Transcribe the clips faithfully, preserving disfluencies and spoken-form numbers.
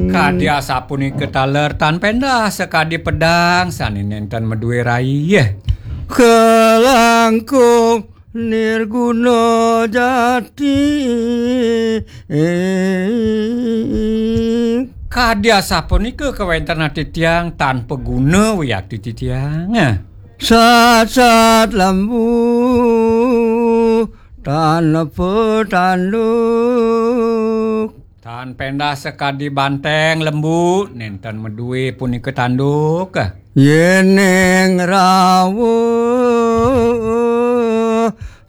Kadi asapunika taler tan pendah sakadi pedang sane nenten maduwe rai. Kalangkung nirguna jati. Kadi asapunika kawentenan titiang tan paguna wiakti titiang. Sasat lembu tan petanduk. Tan pendah sakadi banteng lembu, nenten maduwe punika tanduk. Yening rawuh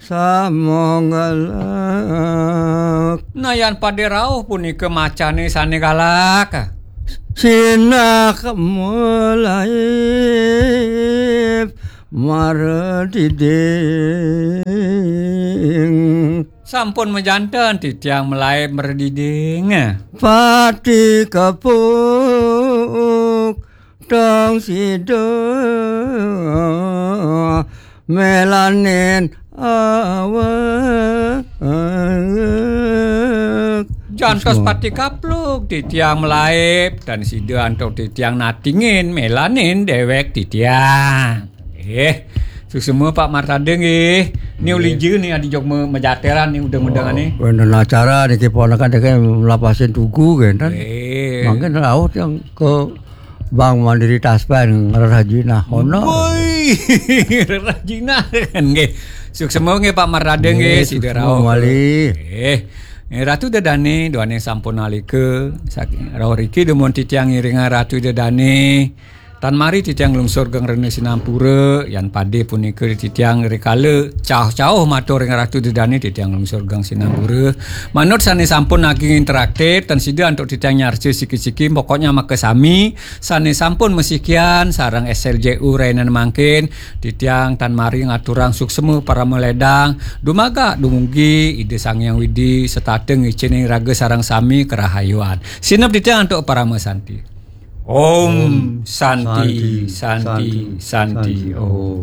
samanggalak. Nah, yan pade rauh punika macane sane galak. Sinak melaib marediding. Sampun majanten titiang melaib marediding. Pati kepuk tong sida melanin awak. Jantos pati kapluk titiang melaib, tan sida antuk titiang natingin melanin dewek titiang. Eh, suksma Pak Martade nggih. Ni ulija ni adi jog me- majateran ni udeng-udengane. Oh, wenten acara niki ponakan teke melapasin tugu kan. Eh. Mangkin rauh yang ke Bank Mandiri Taspen ngrerah jinah ono. Woi, ngrerah jinah kan nggih. Suksma nggih Pak Martade nggih, nggih, sida suksma rauh. Malih. Nggih. Nggih, Ratu Dedane, duane sampun alika. Saking rauh riki dumun titiang ngiringang Ratu Dedane. Tan mari titiang nglungsur geng rena sinampura, yan pade punika titiang rikala cauh-cauh matur ring Ratu Dedane titiang nglungsur geng sinampura. Manut sane sampun ageng interaktif, tan sida antuk titiang nyarca siki-siki, pokoknya makasami sane sampun masikian sareng S L J U rainan mangkin, titiang tan mari ngaturang suksma parama ledang, dumaga dumugi Ida Sang Hyang Widi setata ngicening raga sareng sami karahayuan. Sineb titiang antuk parama santi. Om Santi, Santi, Santi, Om.